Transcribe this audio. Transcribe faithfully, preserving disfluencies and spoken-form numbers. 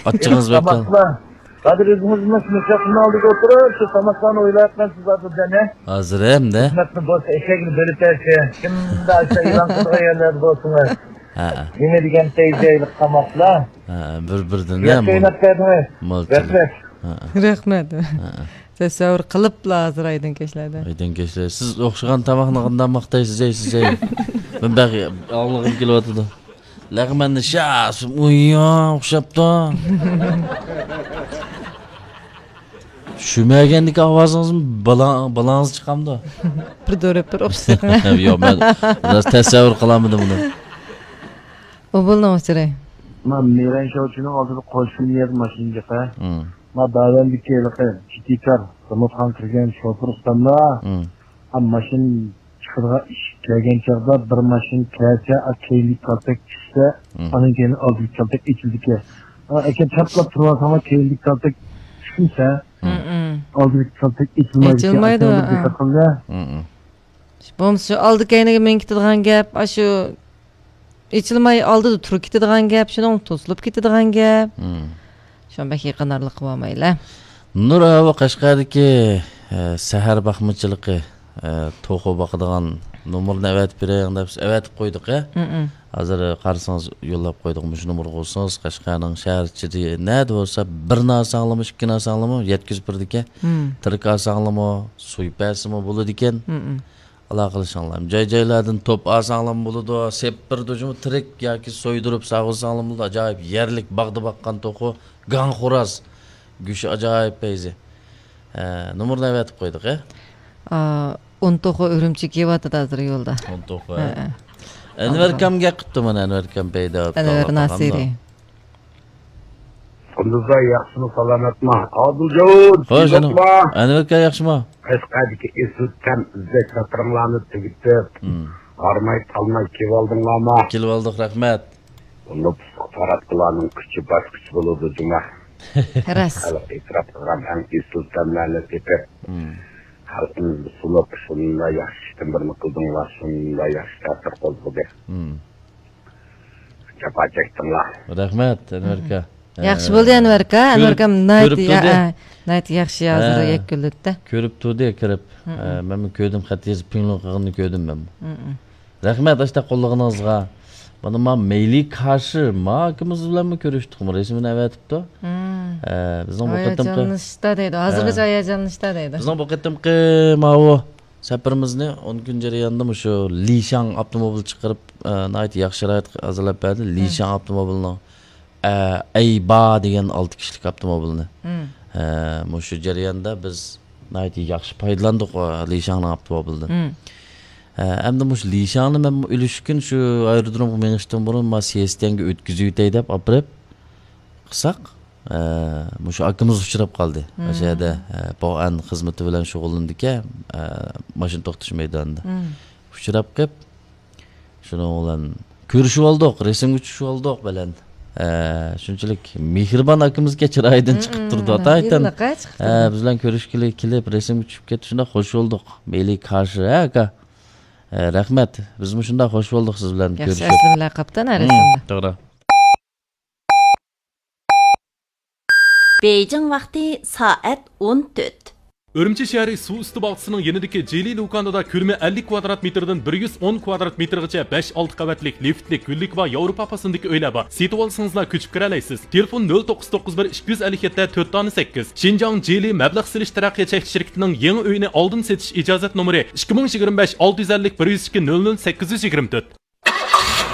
ئاچچىقىڭىز بەك قال-. تاماقلار. ھازىر ئۆزىڭىزمۇ شۇ مىكروفوننىڭ ئالدىدا ئولتۇرۇپ، شۇ تاماقلارنى ئويلاۋاتقانسىز ھازىر، جانى. ھازىر ھەمدە. خىزمەتنى بولسا ئېشەكنى بۆلۈپ بەرسە، كىمدە ئاشۇ ئېلان قىلىدىغان يەرلەردە بولسىڭىز. ھە، ھە. نېمە دېگەن تەيجەيلىق تاماقلار. ھە، ھە، بىر-، بىردىن ياخشى ئويناپ بەردىڭىز. رەھمەت. ھە، ھە. رەھمەت. ھە، ھە. تەسەۋۋۇر قىلىپلا ھازىر ئايدىڭ كەچلەردە. ئايدىڭ كەچلەر. سىز ئوخشىغان تاماقنى قانداق ماختايسىز، يەيسىز، يەي. مەن بەك ئاڭلىغۇم كېلىۋاتىدۇ. لەغمەننى شاس، ئۇيا، ئوخشاپتۇ. شۈمەگەندىكى ئاۋازىڭىزمۇ بالا-، بالاڭىز چىقامدۇ؟ بىر دۆرەپ بىر ئوخشىسا. ياق، مەن بىراز تەسەۋۋۇر قىلالمىدىم بۇنى. ئوبۇلنىڭ ئۇچۇرى. ما مىرەن شوچىنىڭ ئالدىدا قوشۇن يەر ماشىنا جىقا. مم. ما داۋەندىكى ھېلىقى جىتىكار، زاماتخان كىرگەن شوپۇر ئۇستاملار. مم. ھە، ماشىنا چىقىدىغان ئىشىك كەلگەن چاغدا بىر ماشىنا كەلسە، ئا، كەينىدىكى كالتەك چۈشسە، مم. ئانىڭ كەينىدىن ئالدىدىكى كالتەك ئېچىلىدىكەن. ئا، ئەكەن چاپلاپ تۇرۇۋالساڭلار، كەينىدىكى كالتەك چۈشمىسە، مم. ئالدىدىكى كالتەك ئېچىلمايدىكەن. ئېچىلمايدۇ، ئاشۇنىڭغا ھە. دىققەت قىلىڭلار. مم. بولمىسا شۇ ئالدى كەينىگە مېڭىپ كېتىدىغان گەپ، ئاشۇ ئېچىلماي ئالدىدا تۇرۇپ كېتىدىغان گەپ، شۇنىڭ توسۇلۇپ كېتىدىغان گەپ. مم. شۇنى بەك يېقىنارلىق قىلىۋالمايلى. نۇر ئاۋۇ قەشقەردىكى، ئە، سەھەر باقمىچىلىقى، ئە، توخۇ باقىدىغان نومۇرنى ئەۋەتىپ بېرىڭ دەپ ئەۋەتىپ قويدۇق، ئە. مم. ھازىر قارىسىڭىز يوللاپ قويدۇق. مۇشۇ نومۇرغا ئۇرسىڭىز، قەشقەرنىڭ شەھەر ئىچىدە نەدە بولسا، بىرنى ئالساڭلىمۇ، ئىككىنى ئالساڭلىمۇ يەتكۈزۈپ بېرىدىكەن. مم. تىرىك ئالساڭلىمۇ، سويۇپ بەرسىمۇ بولىدىكەن. مم. ئالاقىلىشىڭلار. جاي-جايلاردىن توپ ئالساڭلارمۇ بولىدۇ، سېپىپ بېرىدۇ جۇمۇ، تىرىك ياكى سويدۇرۇپ ساغۇرساڭلارمۇ بولىدۇ. ئاجايىپ يەرلىك باغدا باققان توخۇ، گاڭ خوراز. گۆشى ئاجايىپ پەيزى. ھە، نومۇرنى ئەۋەتىپ قويدۇق، ھە؟ ئا، ئون توخۇ ئۈرۈمچىگە كېلىۋاتىدۇ ھازىر يولدا. ئون توخۇ، ھە. ھە. ئەنۋەر ئاكام گەپ قىپتۇ مانا، ئەنۋەر ئاكام پەيدا بوپتۇ، ئەنۋەر ئاللا قالغاندا. ناسىرى. قۇندۇزلار ياخشىمۇ، سالامەتمۇ؟ ئادىلجان، خوش، ئەنۋەر ئاكا ياخشىمۇ؟ قەشقەردىكى ئېسىل تەم ئىزدەش سەپىرىڭلارنى تۈگىتىپ، مم. ھارماي تالماي كېلىۋالدىڭلارمۇ؟ كېلىۋالدۇق، رەھمەت. بۇ نوپۇسلۇق تاراتقۇلارنىڭ كۈچى باشقىچە بولىدۇ جۇمۇ. راست. خەلق ئېتىراپ قىلغان ئەڭ ئېسىل تەملەرنى تېپىپ، مم. خەلقىمىزنى سۇنۇپ، شۇنداق ياخشى ئىشتىن بىرنى قىلدىڭلار، شۇنداق ياخشى تەسىر قوزغىدى. مم. جاپا چەكتىڭلار. رەھمەت، ئەنۋەر ئاكا. ياخشى بولدى، ئەنۋەر ئاكا. ئەنۋەر ئاكام ناھايىتى يا-، ئە، ناھايىتى ياخشى ھازىر يەكۈنلىدى. كۆرۈپ تۇردى، كىرىپ. ئە، مەنمۇ كۆردۈم، خەت يېزىپ پىڭلىڭ قىلغىنىنى كۆردۈم مەنمۇ. رەھمەت، ئاشتا قوللىغىنىڭىزغا. مانا ما مەيلى كاشى، ما ئاكىمىز بىلەنمۇ كۆرۈشتۇقمۇ، رەسىمىنى ئەۋەتىپتۇ. ئە، بىزنىڭ بۇ قېتىمقى ھاياجانلىنىشتا دەيدۇ. ھازىرغىچە ھاياجانلىنىشتا دەيدۇ. بىزنىڭ بۇ قېتىمقى ماۋۇ سەپىرىمىزنى ئون كۈن جەريانىدا مۇشۇ لىشاڭ ئاپتوموبىل چىقىرىپ، ئە، ناھايىتى ياخشى شارائىت ھازىرلاپ بەردى. لىشاڭ ئاپتوموبىلىنىڭ، ئە، ئەيبا دېگەن ئالتە كىشىلىك ئاپتوموبىلنى. ئە، مۇشۇ جەرياندا بىز ناھايىتى ياخشى پايدىلاندۇق، ئە، لىشاڭنىڭ ئاپتوموبىلىدىن. ئە، ئەمدى مۇشۇ لىشاڭنى مەن ئۈلۈشكۈن شۇ ئايرودرومغا مېڭىشتىن بۇرۇن ما سىيەستيەنگە ئۆتكۈزۈۋېتەي دەپ ئاپىرىپ، قىلساق، ئە، مۇشۇ ئاكىمىز ئۇچراپ قالدى. مم. ئاشۇ يەردە، ئە، بوئەن خىزمىتى بىلەن شۇغۇللىنىدىكەن، ئە، ماشىنا توختىتىش مەيدانىدا. مم. ئۇچراپ قېلىپ، شۇنىڭ بىلەن كۆرۈشۈۋالدۇق، رەسىمگە چۈشۈۋالدۇق بىلەن. ئە، شۇنچىلىك مېھرىبان ئاكىمىزكەن، چىرايىدىن مم، چىقىپ تۇرىدۇ. ئاتايتەن. ئە، بىز بىلەن كۆرۈشكىلى كېلىپ، رەسىمگە چۈشۈپ كەتتى، شۇنداق خوش بولدۇق. مەيلى كاشى، ھە، ئاكا؟ ئە، رەھمەت. بىز مۇشۇنداق خوش بولدۇق سىز بىلەن كۆرۈشۈپ. ياخشى ئەسلىمىلەر قاپتۇ، ھە، مم، رەسىمدە. توغرا. بېيجىڭ ۋاقتى سائەت ئون تۆت. ئۈرۈمچى شەھىرى سۇ ئۈستى باغچىسىنىڭ يېنىدىكى جىلى لۇكانىدا كۆلىمى ئەللىك كۋادرات مېتىردىن بىر يۈز ئون كۋادرات مېتىرغىچە بەش، ئالتە قەۋەتلىك لىفتلىك، گۈللۈك ۋە ياۋروپا پاسىلىدىكى ئۆيلەر بار. سېتىۋالسىڭىزلا كۆچۈپ كىرەلەيسىز. تېلېفون نۆل توققۇز توققۇز بىر ئىككى يۈز ئەللىك يەتتە تۆت دانە سەككىز. شىنجاڭ جىلى مەبلەغ سېلىش تەرەققىيات چەكلىك شىركىتىنىڭ يېڭى ئۆيىنى ئالدىن سېتىش ئىجازەت نومۇرى ئىككى مىڭ يىگىرمە بەش ئالتە يۈز ئەللىك بىر يۈز ئىككى نۆل نۆل سەككىز يۈز يىگىرمە تۆت.